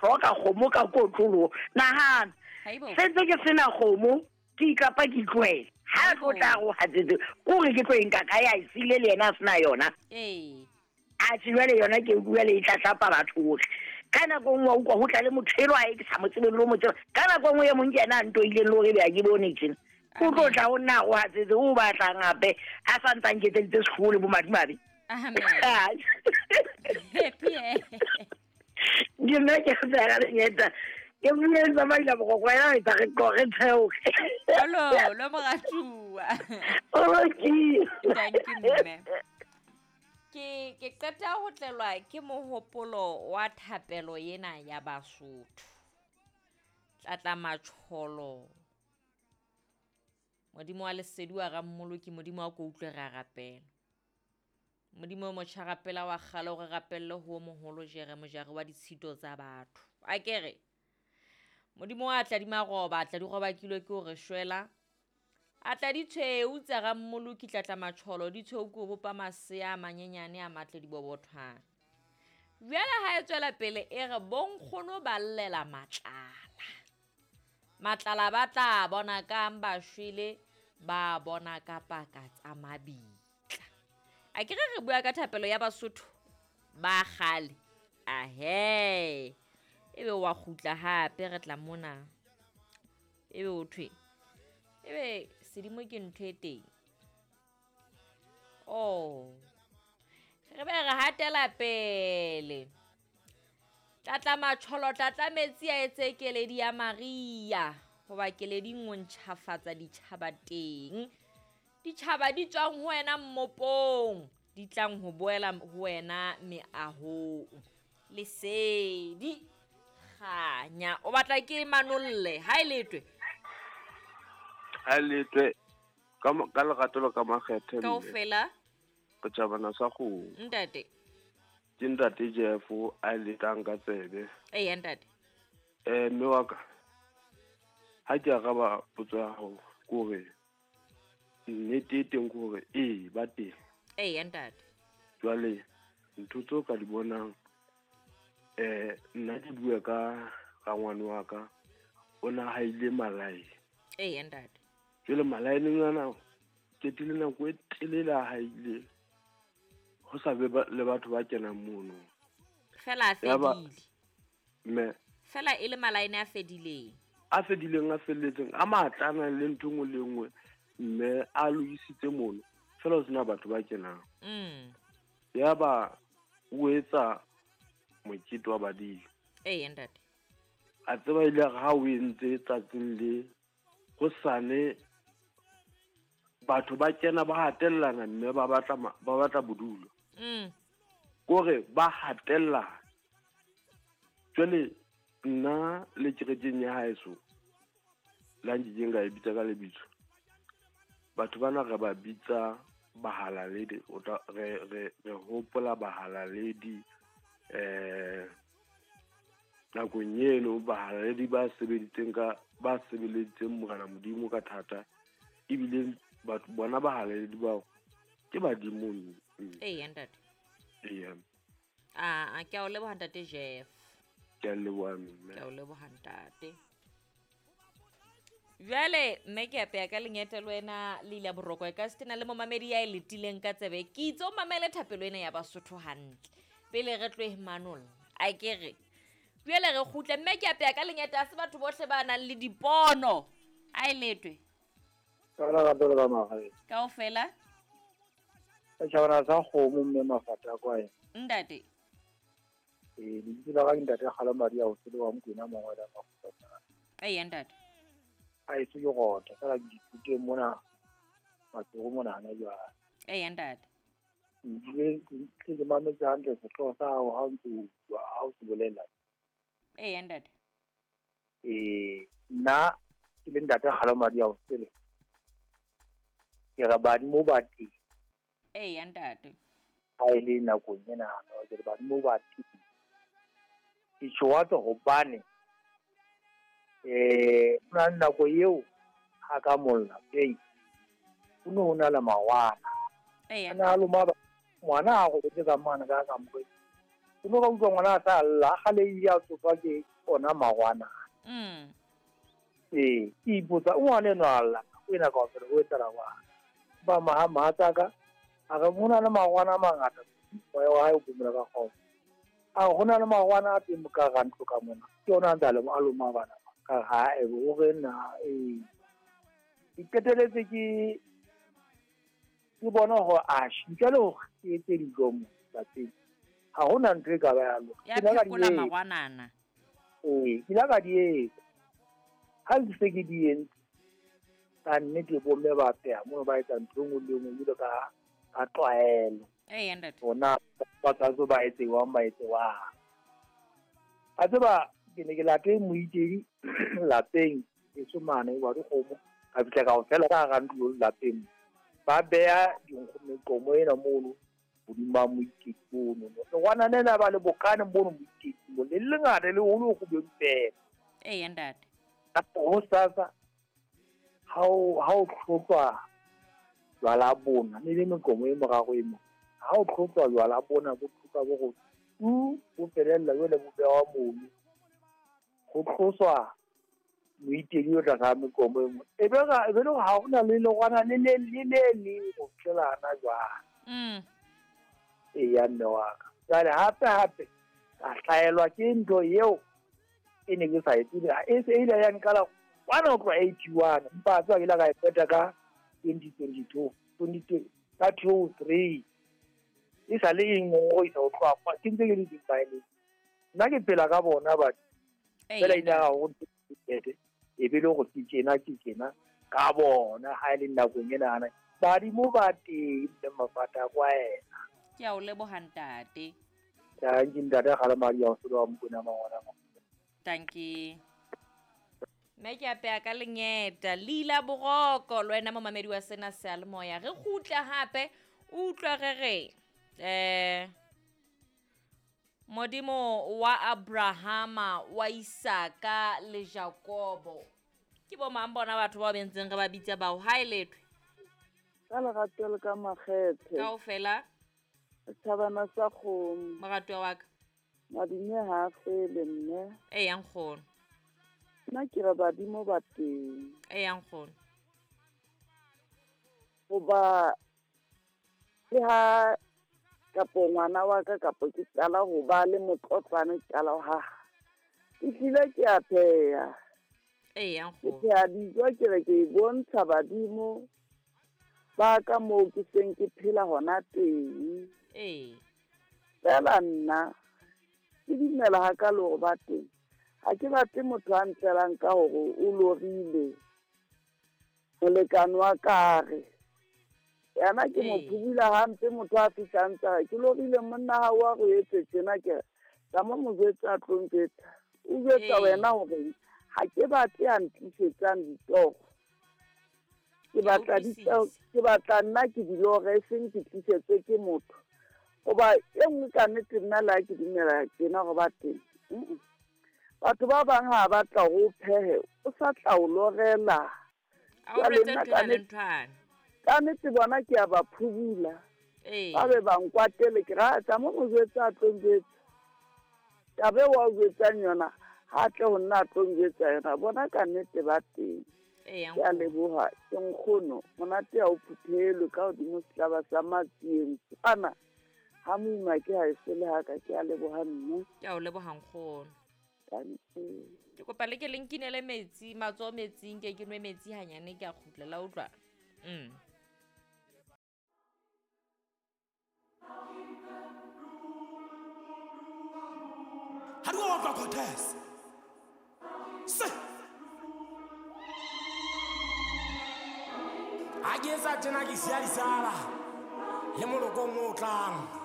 hloka kgomo ka kotloloho. Nahana, se ntse ke sena kgomo, ke ikapa ke itlohela. Ha tlo tla go hatsetse, kore ke tlo e nka kae, a e siile le yena a sena yona. Atjhe jwale yona ke utlwa le e tlatlapa batho bohle. Ka nako e nngwe wa utlwa ho tla le motho elwa e ke sa mo tsebeng le ho mo tseba. Ka nako e nngwe e mong ke yena a ntoileng le hore ebe ha ke bone tjena. O tlo tla ho nna a go hatsetse, o batlang hape a sa ntse a nketseditse sehloho le bomadimabe. Ke nna ke tsaya lenyeta. Ke bule tsamaila bogoko ya etsa re qoge theoge. Olo, lo moratuwa. Olo ke. Thank you mme. Ke ke qeta ho tlelwa ke mohopolo wa thapelo ena ya Basotho. Tlatla matjholo. Modimo wa lesedi wa Rammoloki, Modimo wa ko utlwe re a rapela. Modimo o motjha rapela wa kgale o re rapelle ho o moholo jere mojari wa ditshito tsa batho. A ke re Modimo wa tla di maroba, tla di robakilwe ke o re shwela. A tla di tshweu tsa Rammoloki tlatla matjholo, di tshweu ke o bopa masea a manyenyane a matle dibobothwana. Jwale ha e tswela pele e re bonkgono ba llela matlala. Matlala ba tla bona kang ba shwele, ba bona ka paka tsa mabitla. A ke re re bua ka thapelo ya Basotho ba kgale. Ahe, ebe wa kgutla hape re tla mona. Ebe o thwe, ebe sedimo ke ntho e teng. Oh, re be re hatela pele. Tlatla matjholo, tlatla metsi a etse keledi ya Maria. Hoba keledi o ntjhafatsa ditjhaba teng. Ditjhaba di tswang ho wena mmopong, di tlang ho boela ho wena meahong. Lesedi, kganya. O batla ke manolle, ha e letwe? Ha e letwe, ka lerato le ka makgethe. Kaofela? Re tjhabana sa kgomo. Ntate. Ke ntate Jeff a e letang ka tsebe. Eya ntate. Mme wa ka, ha ke araba potso ya hao, ke hore nnete e teng ke hore ee, ba teng. Eya ntate. Jwale ntho tseo ka di bonang, nna ke bua ka rangwane wa ka, o na haile malae. Eya ntate. Jwale malaeneng ana qetile nako e telele a haile, ho sa be le batho ba kenang mono. Fela a fedile. Mme. Fela e le malaene a fedileng. A fedileng, a felletseng, a matla a nang le ntho e nngwe le nngwe, mme a lokisitse mono. Fela ho sena batho ba kenang. Yaba o etsa mokete wa badimo. Eya ntate. A tseba ile re ha o entse tsatsing le hosane batho ba kena ba hatellana mme ba batla ba batla bodulo. Kore ba hatellana. Jwale nna le kerekeng ya haeso, la nkekeng ka e bitsa ka lebitso, batho bana re ba bitsa bahalaledi, o tla re hopola bahalaledi, nakong eno bahalaledi ba sebeditseng ka, ba sebeleditseng Morena Modimo ka thata, ebile batho bona bahalaledi bao ke badimo. Eya ntate. Eya. A ke a o leboha ntate Jeff. Ke a leboha mme. Ke a o leboha ntate. Jwale mme ke apeya ka lengete le wena le ile boroko e ka se tena le momamedi ya e letileng ka tsebe. Ke itse o mamele thapelo ena ya Basotho hantle pele re tlohe manolla. A ke re jwale re kgutle mme ke apeya ka lengete, ha se batho bohle ba nang le dipono. A e letwe. Ka lerato le ka magae. Kaofela? Ka tjhabana sa kgomo mme mafata a kwae. Ntate. Lebitso la ka ke ntate Kgalo Maria o tsele wa Mokwena Mongwela Makgotla. Eya ntate. A eso ke rota, fela ke ithuteng mona Matsoro mona hana jwale. Eya ntate. Ebile ke mametse hantle sehlooho sa hao ha o ntse o bua, ha o se bolela. Eya ntate. Nna ke le ntate Kgalo Maria o tsele. Ke re badimo ba teng. Eya ntate. Ha e le nakong ena, ke re badimo ba teng. Ke tjho hobane ho na le nako eo ha ka molla teng, ho no ho na le mawana. Eya. A na loma ba, ngwana a robetse ka mane ka kamoreng. Ke no ka utlwa ngwana a sa lla, a gale ile a tsoswa ke ona magwana. Ee, ke ipotsa o ngwana enwa a lla, o ena kaofela o etsala jwang? Ba maha mohatsaka a re ho na le magwana a mangata, moya wa hae o phomola ka kgotso. A re ho na le magwana a teng ka hara ntlo ka mona, ke ona a ntse a a loma bana ba. Ka re ha e o re na ee. Ke qeteletse ke ke bona hore atjhe ntle le hore ke etse dijo mo lapeng, ha hona ntho e ka ba ya loka. Ya Ke ile ka di phekola etsa. magwanana. Ee, ke ile ka di etsa. Ha ke se ke di entse, ka nnete bomme ba pheha mono ba etsa ntho e nngwe le e nngwe jwalo ka ka tlwaelo. Ee, ntate. Hona ba tshwanetse ba etse jwang, ba etse jwang. A tseba ke ne ke late moitedi lapeng eso mane wa dikgomo, ka fihla ka ofela ka hara ntlo lapeng. Ba beha dinkgo meqomo ena mono hodima moitedi mono. Lengwana lena ba le bokane mono moitedi mo, le lengata le holo kgubedu feela. Ee, ntate. Hosasa ha o tlhotlwa jwala bona, ne le meqomo e moraro e mo. Ha o tlhotlwa jwala bona, bo tlhotlwa bo go tu, bo felella jwale bo bewa mono. Ho tloswa moitedi o tlasa meqomo e mo. E be e be le ha hona le lengwana le le le le le ho fihlela hana jwale. Ee, ya mme wa ka. Jwale hape hape ka hlaelwa ke ntho eo e ne ke sa e tsebe. E se e ile ya nqala kwana ho tloha 81, empa a tseba ke ile ka e qeta ka 2022, 20 ka 2003. E sa le e ngongoisa ho tloha kwa, ke ntse ke le dimmaeleng. Nna ke phela ka bona batho. Fela ile ya ho ntete, e be le hore ke tjena ke tjena ka bona ha e le nakong ena ana. Badimo ba teng mme mafata a kwaela. Ke a o leboha ntate. Tanki ntate a kgale madi a o solo wa Mokwena mangwana. Tanki. Mme ke apeya ka lengeta leila boroko le wena momamedi wa sena seyalemoya. Re kgutla hape o utlwa re re Modimo wa Abrahama wa Isaka le Jakobo. Ke bo mang bona batho bao bentseng re ba bitsa bao ha e lethwe? Ka lerato le ka makgethe. Kaofela. Setjhabana sa kgomo. Moratuwa wa ka. Madume ha a fele mme. Eya nkgono. Nna ke re badimo ba teng. Eya nkgono. Hoba le ha kapo ngwana wa ka kapo ke qala ho ba le motlotlwane ke qala ho haha. Ke hlile ke a pheha. Eya Ke nkgono. pheha dijo ke re ke bontsha badimo ba ka moo ke seng ke phela hona teng. Ee. Fela nna ke dumela hakalo hore ba teng. Ha ke batle motho a ntlelang ka hore o lorile molekane wa ka re. Yena ke mo phubula hampe motho a fihlang tsa ke lorile monna ha wa go etse tjena ke tsa mo mo jwetsa a tlo njwetsa. O jwetsa wena hore ha ke batle a ntlisetsang ditoro. Ke batla ke batla nna ke di lore e seng ke tlisetswe ke motho. Hoba e nngwe ka nnete nna le ha ke dumela tjena hore ba teng. Batho ba bang ha ba tla ho phehe, o sa tla o lorela. A o jwetse nthwana le nthwana. Ka nnete bona ke a ba phubula. Ba be ba nkwatele ke ra tsa mo mo jwetsa a tlo njwetsa. Taba eo wa o jwetsang yona, ha tle ho nna a tlo njwetsa yona. Bona ka nnete ba teng. Ke a leboha, ke nkgono, monate ha o phuthelwe ka hodimo setlaba sa matsieng. Kwana ha moima ke ha e sele haka, ke a leboha mme. Ke a o leboha nkgono. Ke kopa le ke le nkinele metsi, matsoho metsing, ke nwe metsi hanyane ke a kgutla la utlwa. Ha di wa utlwa Cortez. Se. Ha ke etsa tjena ke siya disala le molokong o tlang.